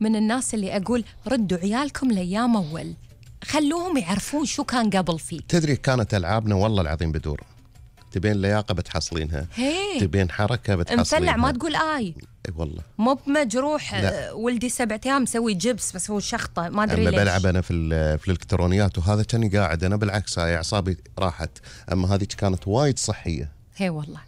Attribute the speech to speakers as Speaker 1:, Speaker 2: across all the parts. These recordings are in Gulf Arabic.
Speaker 1: من الناس اللي أقول ردوا عيالكم لأيام أول، خلوهم يعرفون شو كان قبل فيه.
Speaker 2: تدري كانت ألعابنا والله العظيم بدور، تبين لياقة بتحصلينها، تبين حركة بتحصلينها.
Speaker 1: مفلع ما تقول آي
Speaker 2: والله
Speaker 1: مو بمجروح. ولدي 7 أيام مسوي جبس بس هو شخطة ما أدري ليش.
Speaker 2: بلعب أنا في الإلكترونيات وهذا كاني قاعد أنا بالعكس هاي أعصابي راحت، أما هذه كانت وايد صحية.
Speaker 1: هي والله.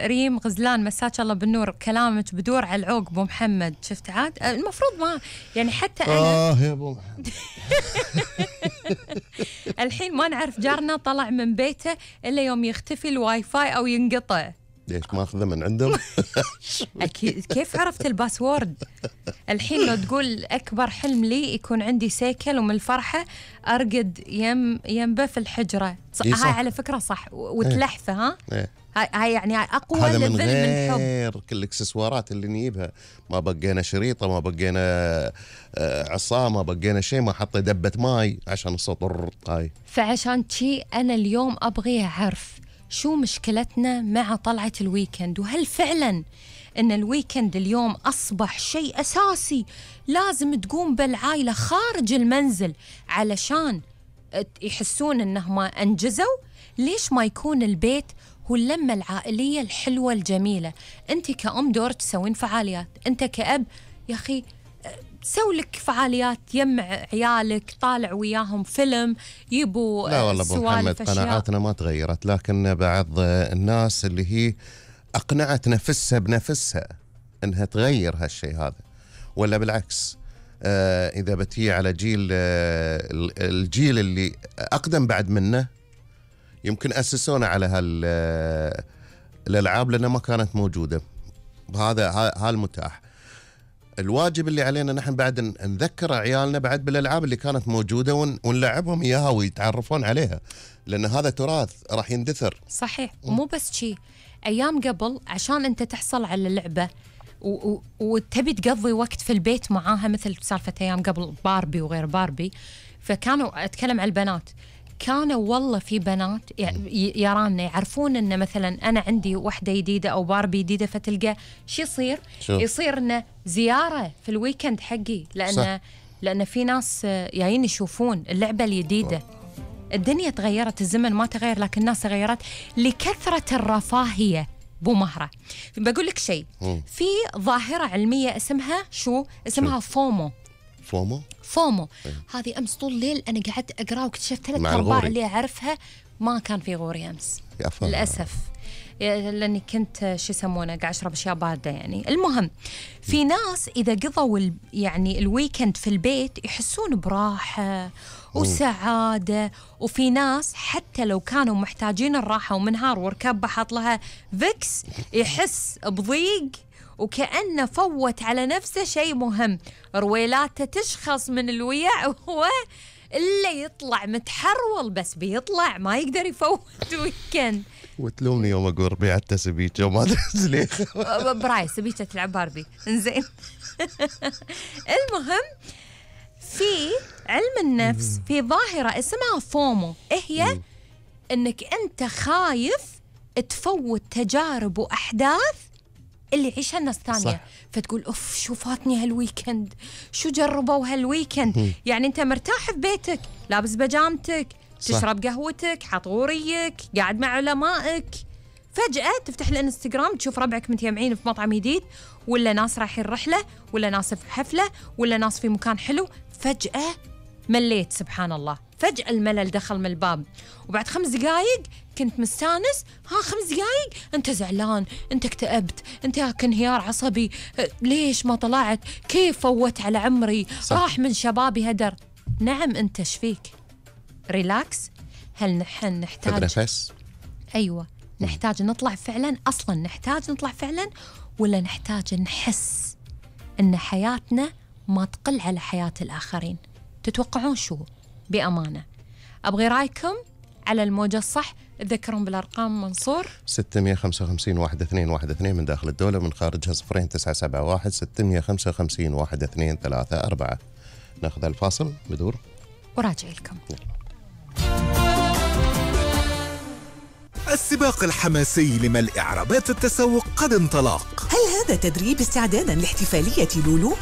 Speaker 1: ريم غزلان مساك الله بالنور، كلامك بدور على العوق ابو محمد. شفت عاد المفروض ما يعني حتى انا
Speaker 2: يا ابو محمد
Speaker 1: الحين ما نعرف جارنا طلع من بيته الا يوم يختفي الواي فاي او ينقطع.
Speaker 2: ليش ماخذه من عندهم؟
Speaker 1: اكيد. كيف عرفت الباسورد؟ الحين لو تقول اكبر حلم لي يكون عندي سيكل ومن الفرحه ارقد ينبه في الحجره. هاي على فكره صح وتلحفه. ها هاي يعني اقوى
Speaker 2: هذا
Speaker 1: ليفل
Speaker 2: من
Speaker 1: غير
Speaker 2: كل الاكسسوارات اللي نجيبها. ما بقينا شريطه، ما بقينا عصا، ما بقينا شيء، ما حط دبه ماي عشان الصوت هاي.
Speaker 1: فعشان شي انا اليوم ابغي اعرف شو مشكلتنا مع طلعة الويكند، وهل فعلا ان الويكند اليوم اصبح شيء اساسي لازم تقوم بالعائلة خارج المنزل علشان يحسون انهم انجزوا؟ ليش ما يكون البيت هو اللمة العائلية الحلوة الجميلة؟ انت كأم دورك تسوين فعاليات، انت كأب يا اخي سوي لك فعاليات، يمع عيالك، طالع وياهم فيلم، يبوا
Speaker 2: لا والله ابو محمد قناعاتنا ما تغيرت، لكن بعض الناس اللي هي اقنعت نفسها بنفسها انها تغير هالشيء هذا، ولا بالعكس اذا بتي على الجيل اللي اقدم بعد منه يمكن اسسونا على الالعاب لانها ما كانت موجوده. هذا المتاح. الواجب اللي علينا نحن بعد نذكر عيالنا بعد بالالعاب اللي كانت موجوده ونلعبهم اياها ويتعرفون عليها، لان هذا تراث راح يندثر.
Speaker 1: صحيح. ومو بس شيء، ايام قبل عشان انت تحصل على اللعبه وتبي تقضي وقت في البيت معاها، مثل سالفه ايام قبل باربي وغير باربي، فكانوا اتكلم على البنات، كانوا والله في بنات يرانا يعرفون ان مثلا انا عندي وحده جديده او باربي جديده، فتلقى شو يصير انه زياره في الويكند حقي، لان في ناس جايين يشوفون اللعبه الجديده. الدنيا تغيرت، الزمن ما تغير لكن الناس تغيرت لكثره الرفاهيه. بو مهره بقول لك شيء، في ظاهره علميه اسمها اسمها فومو. هذه امس طول الليل انا قعدت اقرا واكتشفت 3 أرباع اللي اعرفها ما كان في غوري امس للاسف، لاني كنت شو يسمونه قاعد اشرب اشياء بارده يعني. المهم في ناس اذا قضوا يعني الويكند في البيت يحسون براحه وسعاده، وفي ناس حتى لو كانوا محتاجين الراحه ومنهار وركبه حاط لها فيكس يحس بضيق وكأنه فوت على نفسه شيء مهم، رويلاته تشخص من الوياء وهو إلا يطلع متحرول، بس بيطلع ما يقدر يفوت ويكند.
Speaker 2: وتلومني يوم أقول ربيعة سبيكة وما أدري
Speaker 1: براي سبيكة تلعب باربي إنزين. المهم في علم النفس في ظاهرة اسمها فومو، هي إنك أنت خايف تفوت تجارب وأحداث اللي يعيشها الناس ثانية، فتقول أوف شو فاتني هالويكند، شو جربوا هالويكند. يعني أنت مرتاح في بيتك، لابس بجامتك، تشرب قهوتك، حاط غوريك، قاعد مع علمائك، فجأة تفتح الانستغرام تشوف ربعك متجمعين في مطعم جديد، ولا ناس رايحين رحلة، ولا ناس في حفلة، ولا ناس في مكان حلو، فجأة مليت. سبحان الله، فجأة الملل دخل من الباب، وبعد 5 دقايق كنت مستانس، 5 دقايق أنت زعلان، أنت اكتئبت، أنت انهيار عصبي، ليش ما طلعت، كيف فوت على عمري، راح من شبابي هدر. نعم أنت شفيك، ريلاكس. هل نحن نحتاج
Speaker 2: نفس؟
Speaker 1: أيوة نحتاج نطلع فعلا؟ أصلا نحتاج نطلع فعلا، ولا نحتاج نحس أن حياتنا ما تقل على حياة الآخرين؟ تتوقعون شو؟ بأمانة أبغي رأيكم على الموجة الصح. تذكرون بالأرقام منصور
Speaker 2: 655 1212 من داخل الدولة، من خارجها 0971 655 1234. ناخذ الفاصل بدور
Speaker 1: وراجع لكم.
Speaker 3: السباق الحماسي لملء إعرابات التسوق قد انطلق.
Speaker 4: هل هذا تدريب استعدادا لاحتفالية لولو؟